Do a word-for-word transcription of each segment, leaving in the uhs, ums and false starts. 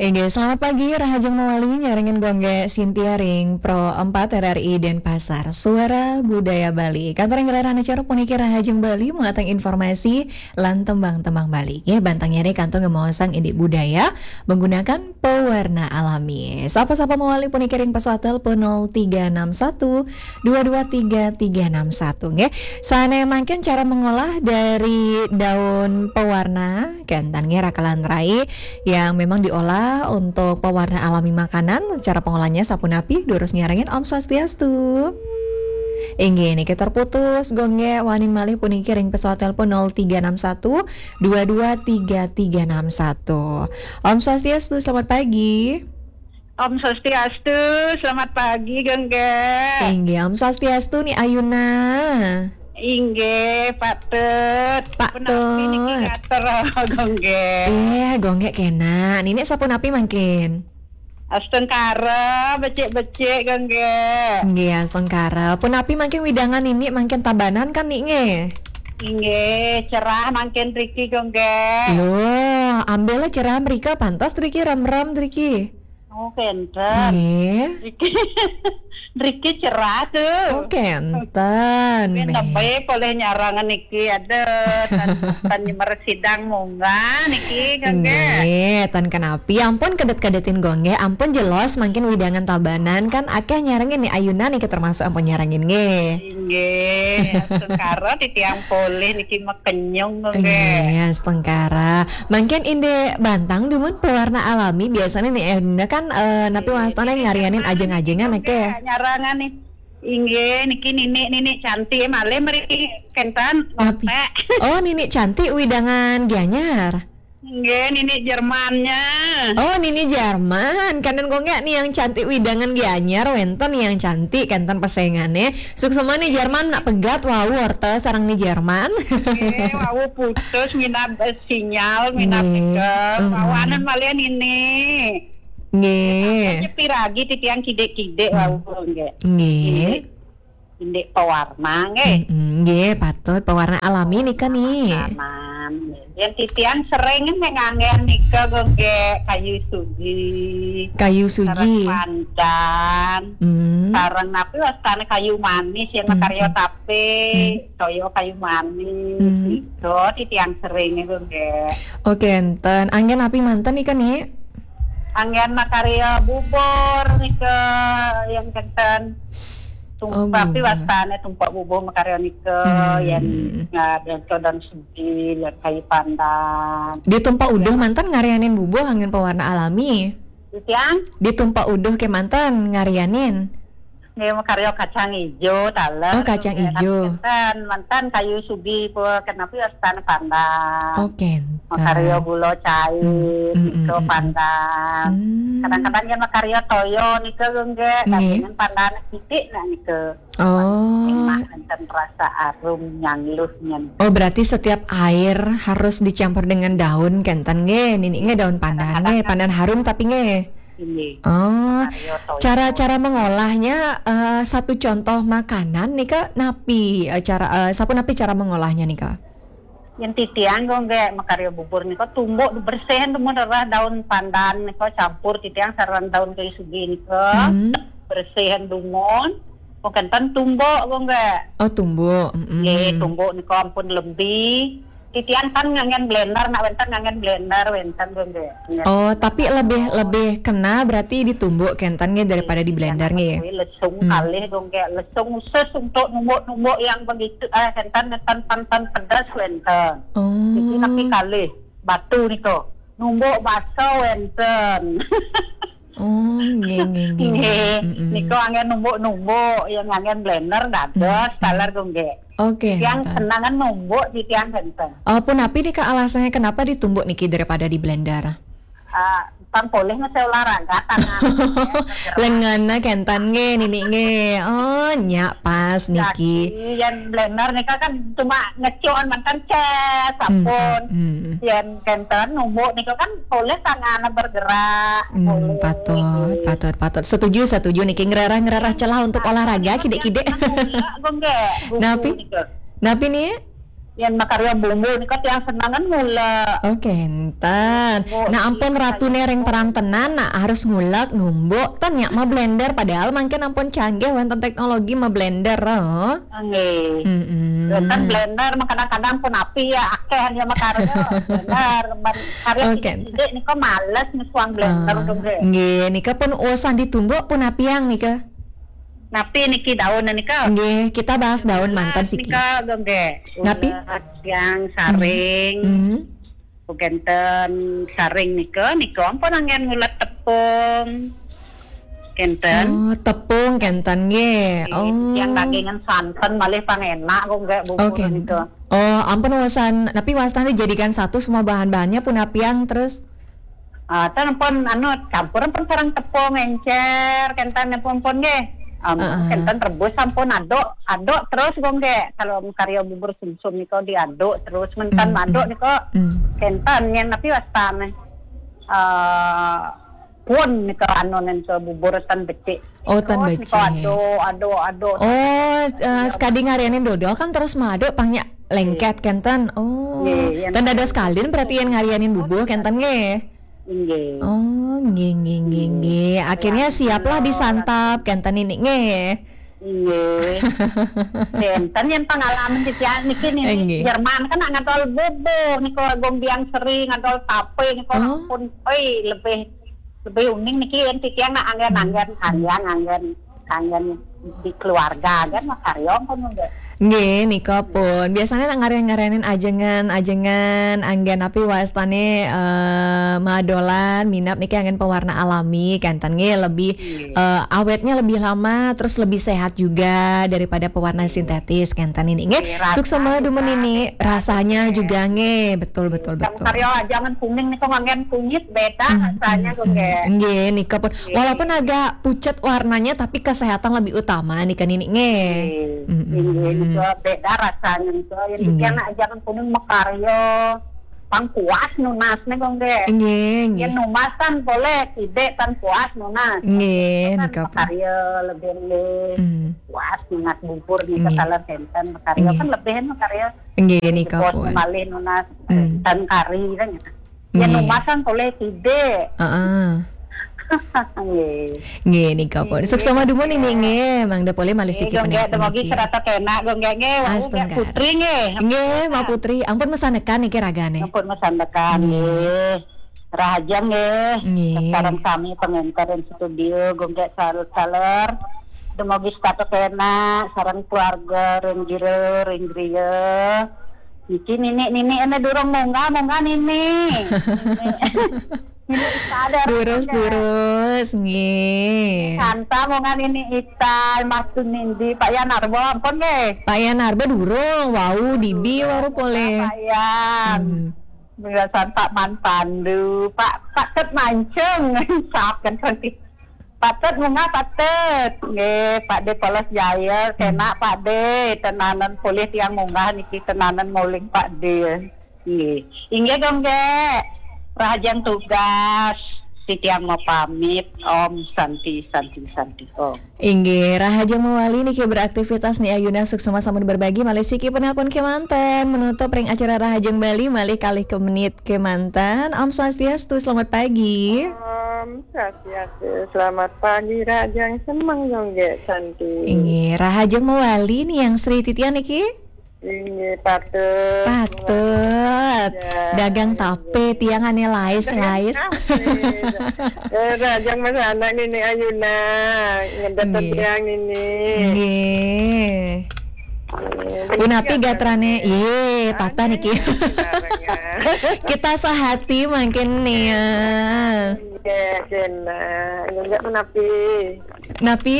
Inggih, selamat pagi, rahajeng mawali nyarengin Gung Gé Sintia ring Pro empat R R I Denpasar, Suara Budaya Bali. Kantur ngelar acara puniki rahajeng Bali, muatang informasi lan tembang-tembang Bali. Nggih, bantang nyare kantur ngemaosang indik budaya menggunakan pewarna alami. Sapa-sapa mawali puniki ring pesawat telepon nol tiga enam satu dua dua tiga tiga enam satu, nggih. Sane mangkin cara mengolah dari daun pewarna, kenten nggih, rakelan rai yang memang diolah untuk pewarna alami makanan. Cara pengolahnya sapunapi? Durus nyarengin, Om Swastiastu. Inggih, niki terputus, Gung Gé wani malih puniki ring pesawat telepon nol tiga enam satu dua dua tiga tiga enam satu. Om Swastiastu, selamat pagi. Om Swastiastu, selamat pagi, Gung Gé. Inggih, Om Swastiastu, Ni Ayuna. Inggih, patut. Patut. Punapi niki ngatur, Gung Gé? Eh, Gung Gé kena. Nini sapunapi mangkin? Astungkara, becik-becik, Gung Gé. Nggih, astungkara. Punapi mangkin widangan nini mangkin Tabanan kan, Ni, nggih? Inggih, cerah mangkin riki, Gung Gé. Loh, ambil cerah mrika, pantas riki rem-rem riki. Oh, kenten. Nggih. Riki, riki cerah tuh. Oh, kenten. Tapi Meh. Nembe polih nyarangan niki, ada tan, tan nyemer sidang munggah niki, Gung Gé. Nggih, tan kenapi. Ampun kedet-kedetin Gung Gé, ampun jelas mangkin widangan Tabanan kan akeh nyarengin Ni Ayuna niki termasuk ampun nyarengin nggih. Inggih, astungkara titiang polih niki mekenyung, Gung Gé. Nggih, astungkara. Mangkin indik bantang dumun pewarna alami, biasanya Ni Ayuna kan, eh, napi wastane ngarianin ajeng-ajengan, oke? Nyarangan nih. Inggih, niki nini, nini cantik, malih mriki kenten, Napi? Nontek. Oh, nini cantik widangan Gianyar. Nggih, nini Jermannya. Oh, nini Jerman. Kenten Gung Gé, Ni yang cantik widangan Gianyar, wenten Ni yang cantik, kenten pesengane. Suksma Ni Jerman, nak pegat wau orta sareng Ni Jerman. Nggih, wau putus minab, eh, sinyal, minab Nggih. Tegal. Mm-mm. Wau anen malian ini. Nggih. Nyepi ragi titiang kidik-kidik, mm, wau, nggih. Nggih. Indik, indik pewarna, nggih. Mm-mm, nggih, patut. Pewarna alami nika, Ni. Aman. Yang titiang sering nih nganggen nika, Gung Gé, kayu sugi. Kayu sugi. Sareng pandan. Mm. Sareng napi wastane kayu manis yang, mm-mm, makarya tape, mm, toya kayu manis. Mm. Itu titiang sering, Gung Gé. Oke, enten. Anggen napi manten nika, Ni? Anggen makarya bubur nika yang kenten. Tum-, oh, tapi bubur. Wastane tumpek bubuh makarya nika, hmm, yen, ya, yen kodon segi, yen kayu pandan. Ditumpak uduh manten ngarianin bubuh anggen pewarna alami. Titiang? Ditumpak uduh ke manten ngarianin. Nggih, makarya kacang ijo, taler. Oh, kacang ijo. Manten, manten kayu sugi, pun kenapi wastane pandan. Oke. Makarya gula cair, hmm, hmm, nika, hmm, hmm, pandan. Hmm. Kadang-kadang yen makarya toya nika, nggih, nggih, tapi dengan pandan titik nak nika. Oh. Enak, enten rasa arum nyangluh nyen. Oh, berarti setiap air harus dicampur dengan daun kenten nggih, nini nggih, daun pandan nggih, kadang-kadang pandan harum tapi nggih. Ini. Oh, makarya toya. Cara-cara mengolahnya, eh, satu contoh makanan nika napi, eh, cara, eh, sapunapi cara mengolahnya nika? Yen titiang kok nggih makarya bubur nika tumbuk bersihin dumun rerah daun pandan nika campur titiang sareng daun kayu sugi nika. Hmm. Bersihin dumun. Kok kenten tumbuk kok nggih. Oh, tumbuk. Mm-mm. Nggih, tumbuk nika ampun lembi. Titiang kan nganggen blender, nak wenten nganggen blender, wenten kok nggih. Oh, tapi lebih, lebih kena berarti ditumbuk kenten nggih daripada di blender nggih. Nggih, lesung kalih kok nggih. Lesung khusus untuk numbuk-numbuk yang begitu, eh, kenten, kenten, kenten pedas wenten. Oh. Jadi tapi kalih batu nika. Numbuk bakso wenten. Oh, nggih, nggih, nggih. Nggih. Mm-mm. Nika anggen numbuk-numbuk, yang anggen blender dados, mm-mm, taler kok nggih. Oke, yang enten. Senangan numbuk di tiang kenten. Oh, punapi nika alasannya kenapa ditumbuk niki daripada di blender? Ah, pang polih ngesel olahraga tangan. Lengannya kenten nggih, nini nggih. Oh, nyak pas niki. Jadi, yang blender nika kan cuma ngecon mantan ces, hmm, sampun. Hmm. Yang kenten numbuk nika kan polih tangan bergerak. Hmm, polih. Patut, patut, patut. Setuju, setuju niki ngerarah-ngerarah celah untuk olahraga kidik-kidik. Enggak, enggak, enggak. Napi? Nika. Napi nih? Yén makarya bumbu nika tiang senengan ngulek. Oh, kénten. Nah, ampun ratune ring perang tenan, nah harus ngulek, numbuk, ten nyak ma blender, padahal mangkin ampun canggih wénten teknologi ma blender, oh. Nggih. Mm-mm. Wénten blender, kadang-kadang pun api ya, akeh ya makarya blender. Karya sidik-sidik nika males nisuang blender, ah, nggih. Nggih, nika pun usan ditumbuk pun apiang nika. Napi niki daun nika? Nggih, kita bahas daun manten siki. Nika, nggih. Napi? Ulet, yang saring. Hmm. Kénten saring nika, nika ampun anggen ngulet tepung. Kénten. Oh, tepung kénten nggih. Nggih, oh. Yang dagingan santen malih pang enak kok nggih bubur nika. Oh, ampun usan, napi wastane jadikan satu semua bahan-bahannya pun apiang terus. Ah, ten pun anu campur pun sareng tepung encer, kénten pun pun nggih. Am, heeh. Kénten rebus sampun aduk, aduk terus kok nggih. Kalau karya bubur sumsum nika diaduk terus, menten aduk nika. Hmm. Kénten yen napi wastane. Eh, pun nika anu nika bubur ten becik. Oh, ten becik. Nika aduk, aduk, aduk. Oh, eh, sekadi ngarianin dodol kan terus maaduk pang nyak lengket kénten. Oh, nggih, yen ten dados kalin berarti yen ngarianin bubur kénten nggih. Nggih. Oh, nggih, nggih, nggih, nggih. Akhirnya siaplah disantap kénten ini nggih. Nggih. Kénten yen pengalaman titiang niki niki nggih. Jerman kan nak ngadol bubur niku agung biang seri ngadol tape niku, oh, pun, oi, lebih, lebih uning niki yen titiang nak anggen-anggen, hmm, anggen-anggen. Kanggen di keluarga kan makarya pun nggih. Nggih, nika pun. Biasanya nak ngaren-ngarenin ajengan-ajengan anggen napi wastane, eh, madolan, minab niki anggen pewarna alami, kenten nggih lebih, eh, awetnya lebih lama, terus lebih sehat juga daripada pewarna sintetis, kenten ini nggih. Nggih, suksema dumun ini, rasanya juga nggih. Betul, betul, betul. Karya ajengan kuning niku nganggen kunyit beda rasanya kok nggih. Nggih, nika pun. Nggih. Walaupun agak pucet warnanya, tapi kesehatan lebih utama nih kan ini nggih. Nggih, nggih, nika beda rasanya nika. Yen titiang nak ajengan kuning makarya, pang puas nunas nih kok nggih. Nggih, nggih. Yen numasan boleh, tidak kan puas nunas. Nggih, kan nika pun. Makarya lebih nggih. Hmm. Puas nunas bubur nih, nggih, ketaler kenten makarya. Nggih. Kan lebih makarya. Nggih, nika pun. Malih nunas, hmm, ten kari kan. Ya, nggih. Numasan boleh tidak. Heeh. Nggih. Nggih, nika pun. Nggih. Suksema dumun ini nggih, mangda polih malih siki nggih, penelpon dumogi niki. Serata kena nggih, nggih. Wau, astungkara. Putri nggih. Nggih, Mbak Putri. Ampun mesanekan niki ragane. Ampun mesanekan nggih. Rahajeng nggih. Nggih. Sareng sami pengenter ing studio, nggih, saler-saler. Dumogi setata kena sareng keluarga ring jero, ring griya. Niki nini, nini ene durung munggah, munggah nini. Nini. Nini Ita ada. Durus, durus, nggih. Santa munggah nini Ita, Mas Tunindi, Pak Yan Arbo, ampun nggih. Pak Yan Arbo durung, wau dibi baru polih. Pak Yan. Hmm. Biasan Pak Man Pandu, Pak, Pak Tet Mancung, saapkan nanti. Patut munggah patut. Nggih, Pak De Polos Jaya, hmm, kena Pak De, tenanan polih tiang munggah niki tenanan nguling Pak De. Nggih. Inggih dong, Gek. Rahajeng tugas, titiang mapamit. Om Santi, Santi, Santi, Om. Inggih, rahajeng mawali niki beraktivitas Ni Ayuna, suksema sampun berbagi malih siki penelpon kemanten menutup ring acara Rahajeng Bali malih kalih ke menit kemanten. Om Swastiastu, selamat pagi. Om Swastiastu, selamat pagi, rahajeng semeng, Gek Santi. Inggih, rahajeng mawali Ni Yang Sri titiang niki? Inggih, patut. Patut. Ya, dagang tape, inggih, tiang ane lais-lais. Dagang tape. Eh, rahajeng mesanak Nini Ayuna, ngedeket, inggih, tiang nini. Inggih. Punapi gatrane, iye, patah niki. Kita sehati mangkin nih ya. Nggih, kena. Nggih, punapi. Napi?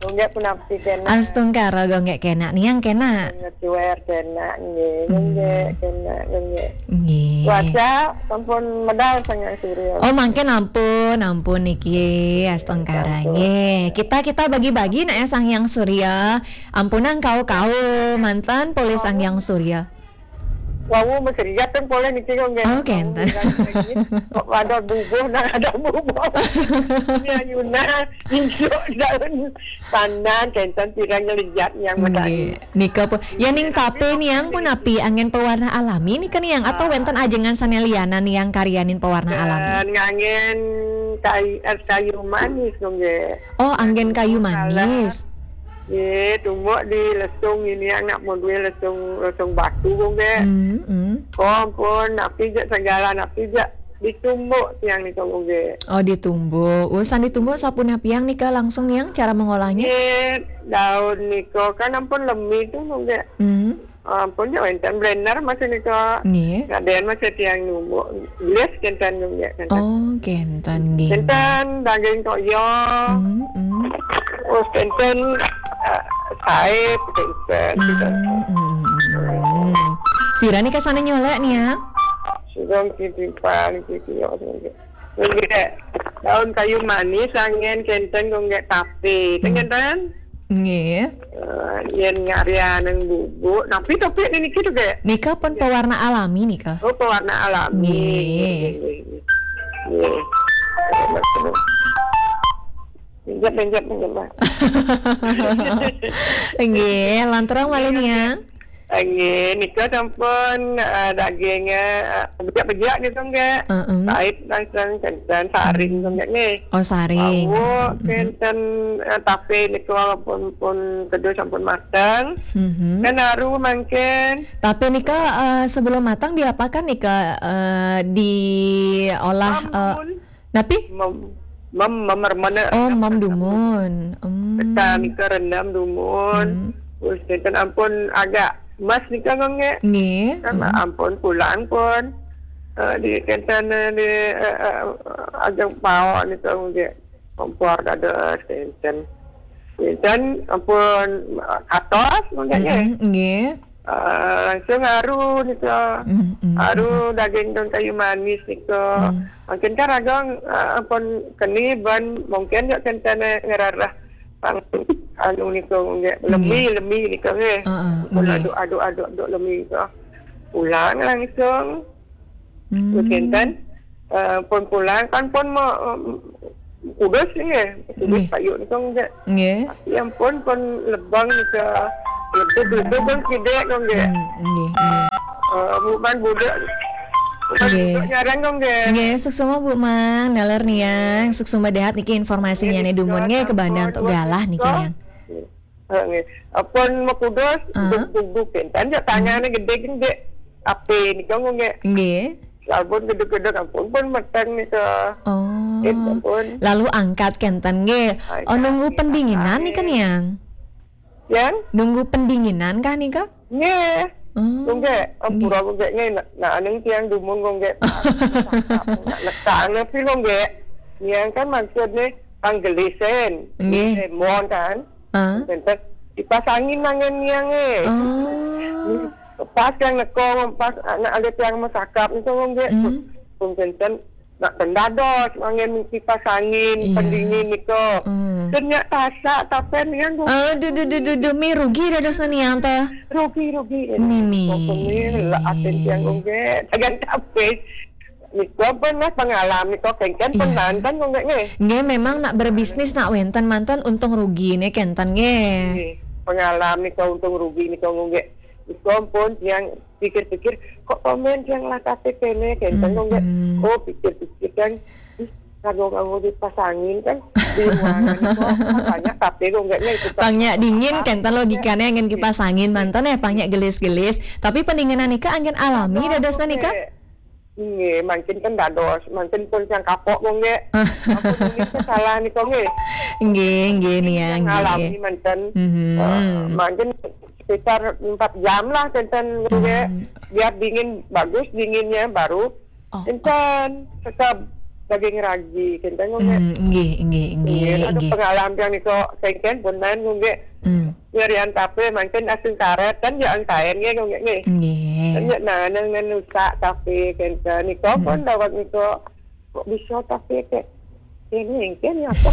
Nggih, punapi kena. Astungkara, nggih kena. Niang kena. Ngecuer kena, nggih. Hmm. Nggih, kena, nggih. Nggih. Cuaca sampun medal Sang Hyang Surya. Oh, mangkin ampun, ampun niki. Astungkara, ampun, nggih. Kita, kita bagi-bagi nak ya Sang Hyang Surya. Ampunang kau-kau manten polih Sang Hyang Surya. Wau masih lihat kan poleh niki kok nggih. Oh, kenten. Kok ada bubuh, nah ada bubuh. Ini ayuna, injuk daun pandan, kenten pirang lihat yang medai. Nggih. Nika pun, ya ning tape niang pun napi anggen pewarna alami nika niang atau wenten ajengan sane lianan yang karyanin pewarna alami? Dan nganggen kayu, es kayu manis kok nggih. Oh, anggen kayu manis. Nggih, tumbuk di lesung ini anak modue lesung, lesung batu kok nggih. Hmm, hmm. Kok ampun, napi jak segala napi jak ditumbuk tiang nika kok nggih. Oh, ditumbuk. Urusan ditumbuk sapunapi niang nika langsung niang cara mengolahnya? Nggih, daun nika kan ampun lemi tu kok nggih. Hmm. Ampun ya wenten blender masih nika. Nggih. Ngaden masih tiang numbuk. Gelis kenten kok nggih kenten. Oh, kenten nggih. Kenten daging toyo. Hmm, hmm. Oh, kenten, eh, saib kenten. Hmm, hmm, hmm, hmm. Sira nika sane nyolek niang? Sugeng titipan titiyo. Nggih. Daun kayu manis anggen kenten kok nggih tape. Ten kenten? Nggih. Eh, yen ngarya nang bubuk, napi topik niki tu nggih? Nika pun pewarna alami nika. Oh, pewarna alami. Nggih. Nggih, nggih, nggih. Nggih. Pinjam, pinjam, pinjam, Mas. Nggih, lanturang malih niang. Nggih, nika sampun, eh, dagingnya, eh, bejak-bejak gitu nggih. Heeh. Pahit langsung kenten saring nggih nggih. Oh, saring. Wau, mm-mm, kenten, eh, tape nika pun, pun kedua sampun mateng. Mhm. Kan haru mangkin. Tape nika, eh, sebelum matang diapakan nika, eh, diolah, eh, napi? Mem, mem, mem remene. Oh, mem dumun. Hmm. Tekan nika rendam dumun. Hmm. Terus kenten ampun agak emas nika kok nggih. Nggih. Kan, hmm, ampun pulang pun. Eh, di kenten, eh, di, eh, eh, ajeng pao nika kok nggih. Kompor dados kenten. Kenten ampun, eh, atos mangga nggih. Hmm, nggih. Eh, langsung haru nika. Hmm, hmm, haru, hmm, daging daun kayu manis nika. Hmm. Mangkin kan raga, eh, ampun keni ban mungkin ya kenten ngerarah pang anu nika nggih. Lemi, nggih, lemi nika nggih. Heeh, ampun nggih. Aduk, aduk, aduk, aduk lemi nika. Pulang langsung. Hmm. Kenten, eh, pun pulang kan pun mau, em, kudus nggih. Kudus, nggih, payu nika nggih. Nggih. Tapi ampun pun lebang nika. Lebih-lebih pun sidek kok nggih. Hmm, nggih, nggih. Eh, bukan budak. Bukan, nggih, budak nyarang kok nggih. Nggih, suksma Bu Mang, naler niang, suksma dahat niki informasinya nggih, nih dumun nggih, sampun kebandang tok galah niki niang. Heeh, nggih. Ampun mekudus, ah, duk, duk, duk, kenten, jak tangane gede, gede. Ape nika nggih. Nggih. Sampun gede-gede ampun pun meteng nika. Oh. Eh, ampun. Lalu angkat kenten nggih. Angkat, oh, nunggu pendinginan nika niang? Yang? Nunggu pendinginan kah nika? Nggih. Oh. Nggih, nggih, ampura nggih nggih. Nah, nah, aning tiang dumun nggih. Nekang pi nggih. Niang kan maksudnya panggelisen. Nggih. Lemon kan. Ah. Kenten dipasangin nangen niang eh. Oh. Pas yang nekong, pas anak ada tiang mesakap itu nggih. Hmm. Pun kenten nak tendados, angin kipas angin, iya, pendingin nika. Hmm. Ternyata tasak tapen niang. Aduh, duh, duh, duh, duh, mi rugi dados niang teh. Rugi, rugi. Mimi. Pokoknya lah aten tiang nggih. Agan tape. Nika pernah pengalaman nika kenten, iya, pun manten nggih. Nggih, memang nak berbisnis nak wenten manten untung rugi nih kenten nggih. Nggih. Pengalaman nika untung rugi nika nggih. Nika pun yang pikir-pikir, kok komen yang lah kate kene, kenten nggih. Hmm. Oh, pikir-pikir kan, ih, kanggo-kanggo dipasangin kan di ruangan kok banyak tape kok nggak nih. Pang nyak dingin kenten logikane angin kipas angin manten ya, pang nyak gelis-gelis. Tapi pendinginan nika angin alami dadosna nika? Nggih, mangkin kan dados, mangkin pun yang kapok kok nggih. Ampun, ini salah nih kok nggih. Nggih, nggih niang, nggih, ngalami nggih. Manten. Mhm. Eh, mangkin sekitar empat jam lah kenten nggih. Hmm. Biar dingin, bagus dinginnya, baru, oh, kenten sekap daging ragi kenten nggih. Hmm, nggih, nggih, nggih, nggih, ada nggih. Pengalaman yang niko kenten pun nggih. Hmm. Ngerian tape mangkin asing karet kan ya angkaen nggih nggih nggih. Nggih. Kan ya nah nang nang nusak tape kenten niko pun dawat niko kok bisa tape kek Ini mungkin ya apa?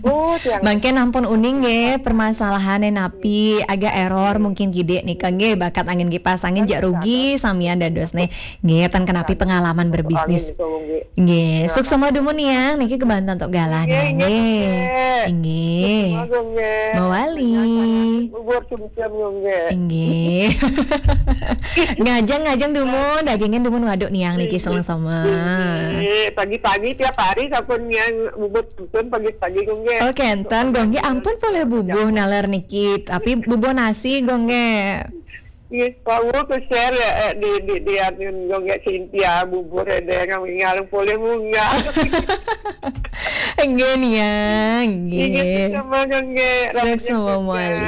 Oh, yang Mangkin ampun uning nggih, permasalahannya napi agak error mungkin gede nih kan nggih, bakat angin kipas angin jak rugi samian dados nih. Nggih, ten kenapi pengalaman berbisnis. Itu, nggih. Nggih, suksma dumun Niang niki kebanten tok galah Nggih, Niang. nggih, Nggih. nggih. Nggih. Agung, nggih. Mawali. Bubur sumsum, nggih. Nggih. Ngajeng-ngajeng dumun, dagingin dumun waduk Niang niki sama-sama. Nggih, pagi-pagi tiap hari sampun yang bubur sumsum pagi-pagi, nggih. Oke, enten gongge ampun boleh bubuh naler niki, tapi bubuh nasi gongge. Nggih, wau ke share ya, eh, di di di anu, nggih, Cynthia, bubur ada yang ngalung boleh munggah. Nggih Niang, Nggih, nggih. sama, nggih. Suksma mawali.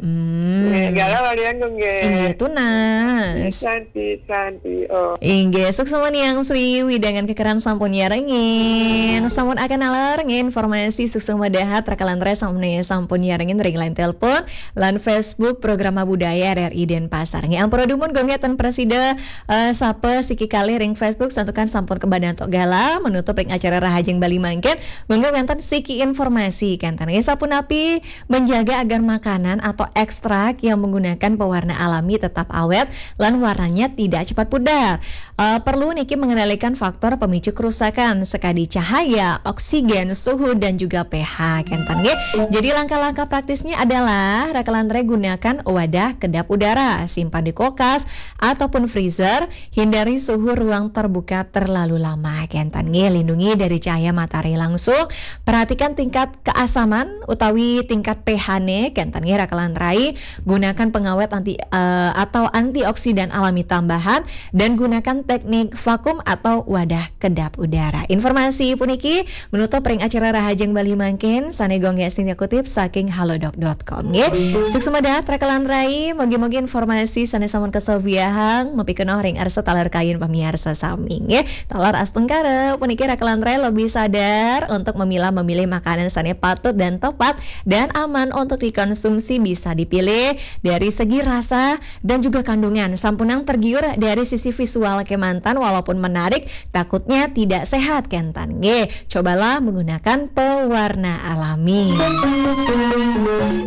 Hmm. Nggih, galah walian, nggih. Inggih tunas. Santi, Santi. Oh. Inggih, suksma Niang Sri Widangan kekeran sampun nyarengin. Sampun akan naler nggih informasi suksma dahat rakalan rai sampun sampun nyarengin ring line telepon lan Facebook Programa Budaya R R I Denpasar. Nggih, ampura dumun gongge ten presida, eh, sapa siki kalih ring Facebook santukan sampun kebadan tok galah menutup ring acara Rahajeng Bali mangkin. Gongge wenten siki informasi kenten nggih sapunapi menjaga agar makanan atau ekstrak yang menggunakan pewarna alami tetap awet lan warnanya tidak cepat pudar. Eh, perlu niki mengendalikan faktor pemicu kerusakan sekadi cahaya, oksigen, suhu dan juga pH kenten nggih. Jadi langkah-langkah praktisnya adalah rakalan rai gunakan wadah kedap udara, simpan di kulkas ataupun freezer, hindari suhu ruang terbuka terlalu lama kenten nggih. Lindungi dari cahaya matahari langsung, perhatikan tingkat keasaman utawi tingkat pH-ne kenten nggih rakalan rai, gunakan pengawet anti, eh, atau antioksidan alami tambahan dan gunakan teknik vakum atau wadah kedap udara. Informasi puniki menutup ring acara Rahajeng Bali mangkin sane gongge Cynthia kutip saking halodoc dot com nggih. Suksma dahat rakalan rai, mugi-mugi informasi sane sampun kasobiahang mapikenoh ring arsa taler kayun pamiarsa sami nggih. Taler astungkara puniki rakalan rai lebih sadar untuk memilah memilih makanan sane patut dan tepat dan aman untuk dikonsumsi, bisa dipilih dari segi rasa dan juga kandungan. Sampunang tergiur dari sisi visual kemanten, walaupun menarik, takutnya tidak sehat kenten nggih. Cobalah menggunakan pewarna alami.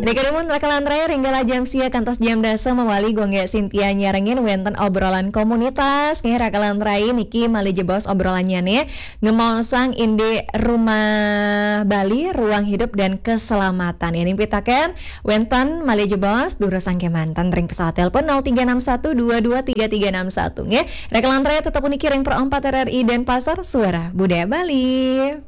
Nika dumun rakalan rai ring galah jam sia kantos jam dasa mawali gongge Cynthia nyarengin wenten obrolan komunitas nggih rakalan rai niki malih jebos obrolannya nih. Ngemaosang indik Rumah Bali, Ruang Hidup dan Keselamatan. Yen pitaken wenten malih jebos durusang kemanten ring pesawat telepon nol tiga enam satu dua dua tiga tiga enam satu nggih. Rakalan rai tetep puniki ring Pro empat R R I Denpasar, Suara Budaya Bali.